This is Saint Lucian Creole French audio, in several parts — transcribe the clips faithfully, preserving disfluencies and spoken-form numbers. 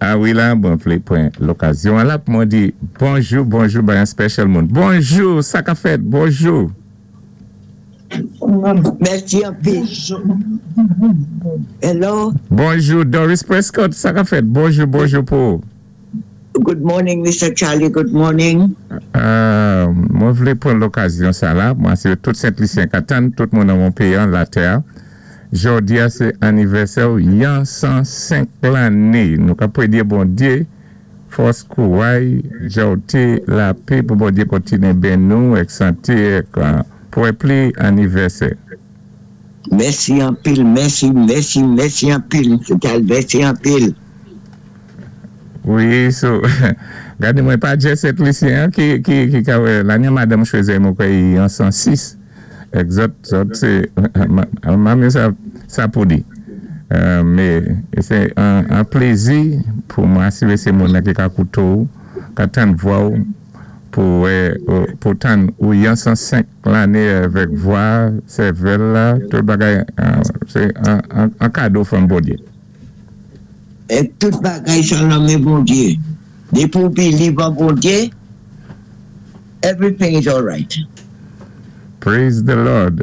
A wi la, bon, vlé pwan lokazyon la pou mwen di bonjou, bonjou, bay an special moun. Bonjou, sa ka fèt, bonjou. Mèsi anpil. Hello. Bonjou, Doris Prescott, sa ka fèt, bonjou, bonjou pou. Good morning, Mister Charlie, good morning. Mwen vlé pwan lokazyon sa la, mwen sé tout Sent-Lisyen ka tann, tout moun nan moun peyi an, latè. Jòdi a sé anivèsè ou yan san senk lanné. Nou ka pwé di Bondyé, fòs kouway, jòté, lapè pou Bondyé kontiné ben nou, èk santé, èk pou pli anivèsè. Mèsi anpil, mèsi, mèsi, mèsi anpil, Mister Charlie, mèsi anpil. Wi, so, gade mwen pa jis Sent-Lisyen, ki, ki, ki ka wè, lanye Madame Chweze mwen kwè yan san sis. Èk zòt, zòt sé, mame sa, sa pou di. Mé, sé an, an plézi pou mwen asiré sé moun ki ka kouté ou, ka tann vwa ou, pou, pou tann ou yan san senk lanné avèk vwa, sèvèl la, tout bagay, sé an, an, an kado from Bondyé. É tout bagay sa nan men Bondyé. Dépi ou believe an Bondyé, everything is all right. Praise the Lord.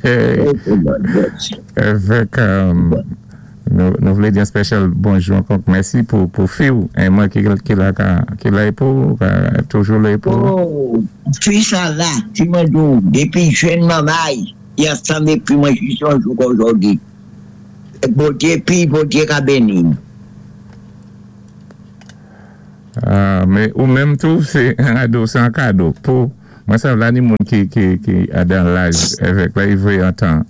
Praise the Lord, yes. Avèk, um, nou, nou vlé di an special bonjou ankò. Mèsi pou, pou fi ou. É mwen ki, ki la, ka, ki la pou, ka, toujou la pou. Oh, fi sa la, ti mwen di ou, dépi jèn manmay, i ansanm épi mwen jis yon jou kòm jòdi. Bondyé pi, Bondyé ka béni. Ah, mé ou menm tou, sé an kado, sé an kado. Pou, mwen sav la ni moun ki, ki, ki a dan laj avèk la, i vwé an tan,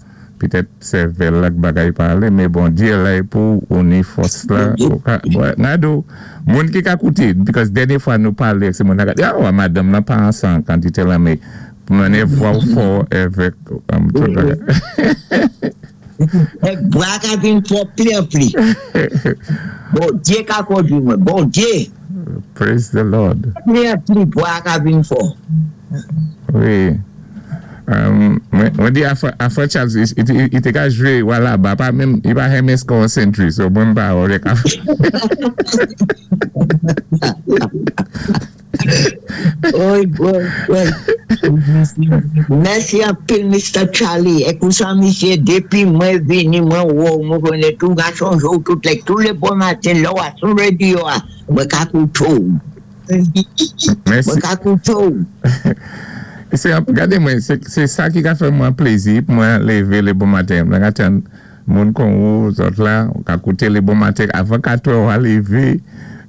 pitèt sèvèl la k bagay palé, mé Bondyé la pou ou ni fòs la. Ou ka, wè, ngado, moun ki ka kouté, because dènyé fwa nou palé, sé moun nan ka, ah, wè, madanm nan pa ansan kantité la, mé mwen e vwa ou fò avèk, um, tout bagay. É vwa ka vin fò pli an pli. Bondyé ka kondwi mwen, Bondyé. Praise the Lord. Pli an pli, vwa ka vin fò. Wi. Um, mwen mwen di a frè, a frè Charles, i, i, i té ka jwé wala ba, pa menm, i pa renmen score century, so mwen pa wè ka. Wi, wi, wi. Mèsi anpil, Mister Charlie. É kou sa, misyé, dépi mwen vini, mwen wè, mwen konnè tou gason jou, tout lè, tou lé bon maten, lè ou a sou radyo a, mwen ka kouté ou. Mèsi. Mwen ka kouté ou. Sé, gade mwen, sé, sé sa ki ka fè mwen plézi pou mwen lévé lé bon maten. Mwen ka tann moun kon ou, zòt la, ou ka kouté lé bon maten, avan kat è ou a lévé.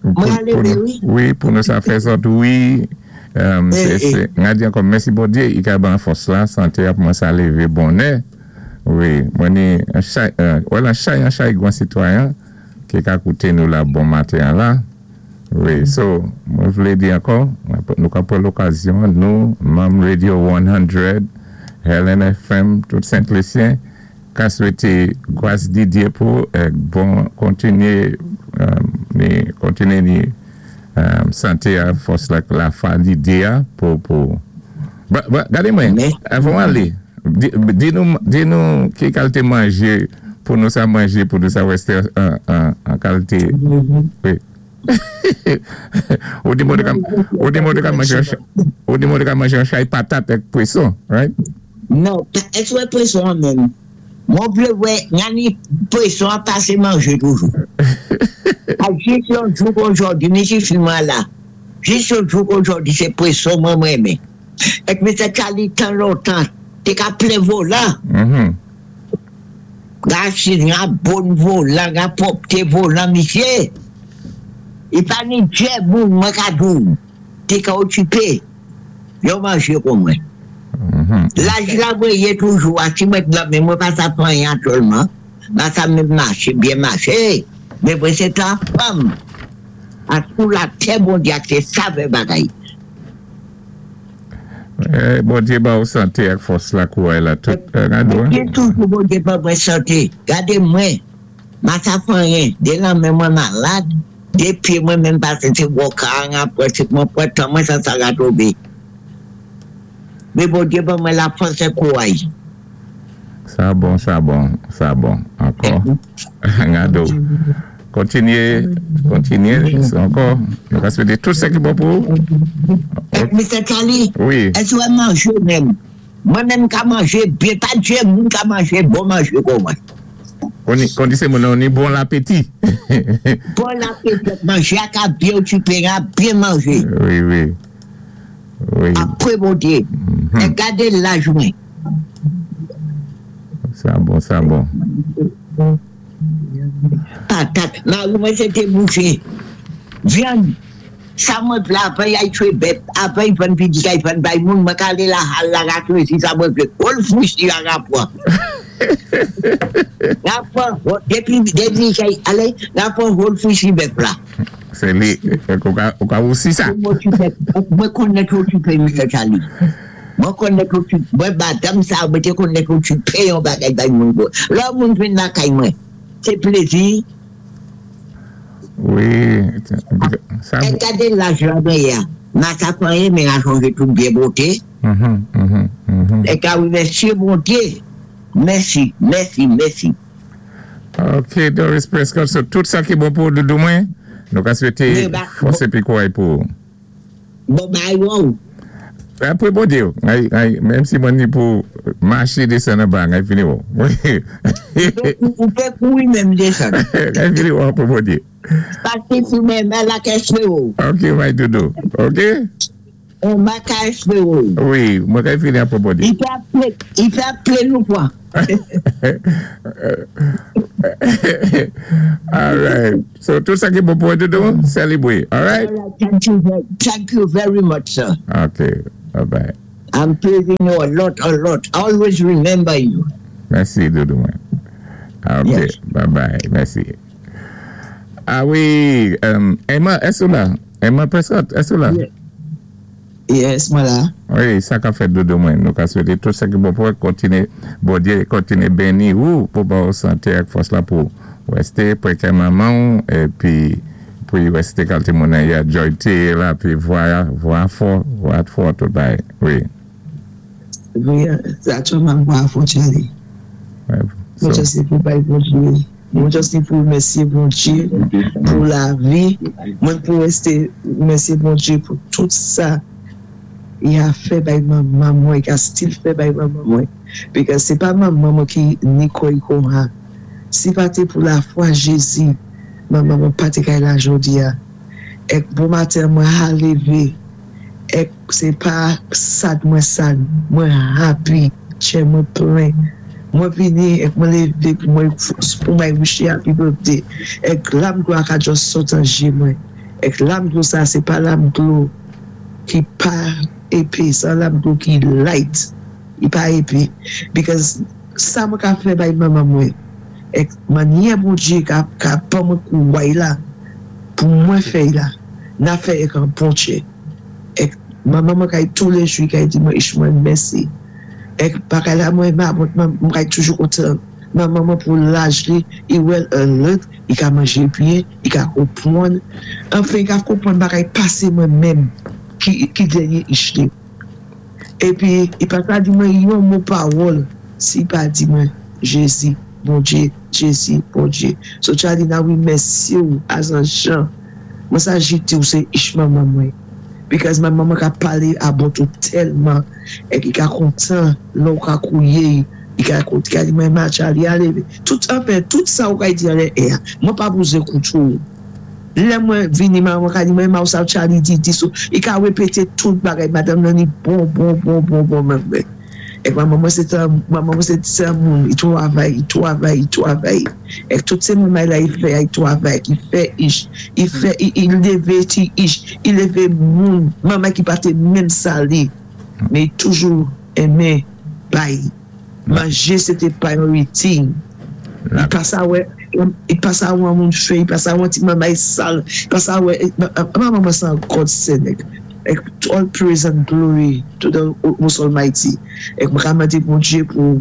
Mwen a Pou lévé, nou, wi. Wi, pou nou sa fè zòt, wi. Um, Eh, sé, eh. sé, nga di ankò, mèsi Bondyé, i ka ban fòs la, santé a pou mwen sa lévé bonè. Wi, mwen ni, an chay, euh, wè lan chay, an chay gwan sitwayen, ki ka kouté nou la bon maten an la. Wi, so, mwen vlé di ankò, nou ka pwan lokazyon, nou, manm Radio san, Helen F M, tout Sent-Lisyen, ka swété gwas Didyé pou, èk bon kontiné, um, ni, kontiné ni, um, santé a fòs la, la fwa Didyé a, pou, pou, ba, ba, gade mwen, Mè. Avan alé, di, di nou, di nou ki kalité manjé, pou nou sa manjé, pou nou sa wè sé an, an, an kalité, wi. Ou di mwen ka, ou di mwen ka manjé, an cha- ou di mwen ka manjé an chay patat èk pwéson, right? Non, èské wè pwéson an menm? Mwen vlé wè, ngani pwéson an pasé manjé toujou. A jis yon jou kòm jòdi, misi fi mwen la, jis yon jou kòm jòdi, sé pwéson mwen mwen renmen. Èk Mister Charlie tan lontan, té ka plen volan. Mhm. Ga si nga bon volan, nga pwòpté volan, misyé. I pa ni djè moun mwen ka di ou, té ka okipé, yon manjé kon mwen. Mhm. Laj la mwen yé toujou, a si mwen la, men mwen pa sa pran yan sèlman, pa sa mwen maché, byen maché, men mwen sé tan fanm. A sou latè Bondyé ak sé sa vè bagay. Eh, Bondyé ba ou santé ak fòs la kouway la tout. Eh, gado, Mwen toujou Bondyé pa mwen santé. Gade mwen, ma sa pran rien, dé lan men mwen malad, dé pyé mwen menm pasé sé walker an apre, sé mwen pran tan mwen sa sa ga tonbé. Mé Bondyé ba mwen la fòs é kouway. Sa bon, sa bon, sa bon. Ankò. Gado. Kontinyé, kontinyé, ankò. Nou ka swété tout sa ki bon pou ou. Mr. Charlie, Wi. èske ou manjé menm? Mwen menm ka manjé byen, pa dé moun ka manjé bon manjé kon mwen. Kon kon di sé moun ni bon lapéti. Bon lapéti, manjé a ka byen okipé, a byen manjé. Wi, wi. Wi. Apwé Bondyé. É gadé laj mwen. Sa bon, sa bon. Patat, mari mwen sé té bouché. Vyann, sa mwen vlé avan y ay twé bèt, avan y vann piti y vann bay moun, mwen ka alé la hal la ka chwazi sa mwen vlé. Whole fouch y a ka pwan. Ka pwan, dépi, dépi kay, alé, ka pwan whole fouch bèf la. Sé li, ou ka, ou ka osi sa. Mwen konnèt okipé, Mr. Charlie. Mwen konnèt okipé, mwen madanm sa, mwen té konnèt okipé yon bagay bay moun go. Lè moun vin lakay mwen, sé plézi. Wi, sa É gadé laj la dèyè. Ma ka panyen, men a chanjé tout byen bwoté. Mhm, mhm, mhm. É ka wimèsyé Bondyé. Mèsi, mèsi, mèsi. Ok, Doris Prescott, so tout sa ki bon pou doudou mwen, nou ka swété Wi, ba- fòs épi kouray pou. Bon, bay wow. Apwé Bondyé, ay, ay, menm si mwen ni pou maché désann anba, ay fini wè. Ou pé kouri menm désann. Ay fini wè apwé Bondyé. Paské si mwen mwen la ka espéré ou. Ok, my doudou. Ok? On ma ka espéré ou. Wi, mwen ka fini apwé Bondyé. I fè aplé, i fè aplé nou kwa. All right. So, tout sa ki bon pou doudou, sélébwé. All right? Thank you, very- thank you very much, sir. Ok. Bye-bye. I'm praising you a lot, a lot. Always remember you. Mèsi, doudou mwen. Ok. Yes. Bye-bye. Mèsi. Ah wi, um, Emma, èske ou la? Emma Prescott, èske ou la? Yes, mwen la. Wi, sa ka fèt doudou mwen. Nou ka swété tout sa ki bon pou kontinyé, Bondyé kontinyé béni ou pou ba ou santé ak fòs la pou wèsté pwé kè manman épi pou wèsté kalté moun ya joyté la pi vwa vwa fò, vwa fò tout bay. Wi. Wi, aktyèlman mwen fò Charlie. Ouais. Mwen So, jis ni pou bay Bondyé. Mwen jis ni pou mèsyé Bondyé pou lavi. Mwen pou wèsté mèsyé Bondyé pou tout sa i a fè bay manman mwen, i a still fè bay manman mwen. Because sé pa manman mwen ki ni kò i kon ha. Si pa té pou lafwa Jézi, manman mwen pa té kay la jodi a. Ek bon maten mwen ha lévé. Ek sé pa sad mwen sad, mwen happy, chè mwen plen. Mwen vini ek mwen lévé pou mwen pou mwen wish happy birthday. Ek lam dlo a ka just sot an jé mwen. Ek lam dlo sa, sé pa lam dlo ki pa épé, sa lam dlo ki light. I pa épé. Because sa mwen ka fè bay manman mwen. Ek manyè Bondyé ka, ka ban mwen kouway la, pou mwen fè la, na fè ek an bon chè. Ek manman mwen kay tou lé jou, kay di mwen ich mwen mèsi. Ek bagay la mwen ma, mwen mwen kay toujou kontan. Manman mwen pou laj li, i well alert, i ka manjé byen, i ka konpwann. Anfen, i ka konpwann bagay pasé mwen menm ki, ki dènyé ich li. Épi, i pa ka di mwen yon mo pawòl, si i pa di mwen Jézi, Bondyé, Jézi, Bondyé. So Charlie na wimèsyé ou as an jan. Mwen sa jiti ou sé ich manman mwen. Because manman mwen ka palé about ou tèlman, ek i ka kontan, lò ou ka kouye, i ka i ka di mwen ma Charlie, alé, tout, anfen, tout sa ou ka di alé, eh, mwen pa bezwen koutou. Lè mwen vini, mwen ka di mwen ma ou sa Charlie di, di so, i ka wépété tout bagay, madanm nan ni bon, bon, bon, bon, bon, mwen mwen. Ek manman mwen sé tan, manman mwen sé tan moun, i twavay, i twavay, i twavay. Ek tout sé moun la i fè, i twavay, i fè ich, i fè, i, i lévé ti ich, i lévé moun, manman ki pa té menm sali, men i toujou enmen bay. Manjé sé té priority. I pa sa wè, i pa sa wè moun fè, i pa sa wè ti manman sal, i pa sa wè, manman mwen san God send ek. Ek all praise and glory to the Most Almighty. Ek mwen ka mandé Bondyé pou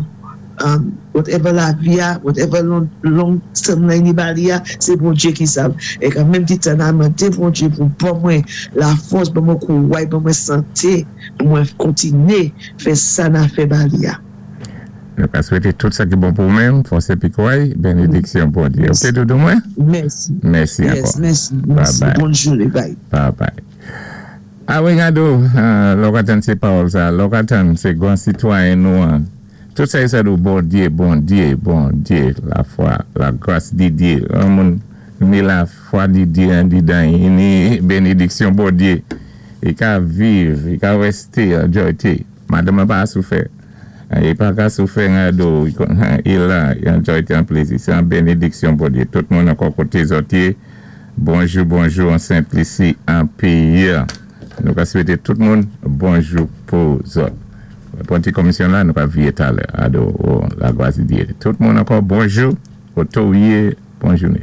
um, whatever lavi a, whatever long, long term la ni ba li a, sé Bondyé ki sav. Ek an menm ti tan a mandé Bondyé pou ban mwen la fòs, ban mwen kouway, ban mwen santé, pou mwen kontinyé fè sa na fè ba li a. Nou ka swété tout sa ki bon pou ou-menm, fòs épi kouway, bénédiksyon Bondyé. OK, doudou mwen? Mèsi. Mèsi Yes, ankò. mèsi. Bye Mèsi. bye. Bòn jouné. Bye. Bye bye. A wi, Gado, lò w ka tann sé pawòl sa, lò w ka tann sé gwan sitwayen nou an. Tout sa, sa dou Bondyé, Bondyé, Bondyé, lafwa, lagras di Dyé. An moun ni lafwa di Dyé andidan, ni bénédiksyon Bondyé. I ka viv, i ka wèsté an jòyté. Madanm pa soufè. I pa ka soufè Gado, i la, an jòyté, an plézi. Sé an bénédiksyon Bondyé. Tout moun ankò koté zòt yé. Bonjou, bonjou, an Sentlisi, an péyi. Nou ka swété tout moun bonjou pou zòt. Pou ti komisyon la, nou ka viyé talè, ado, lagras di Dyé. Tout moun ankò, bonjou, oto yé, bon jouné.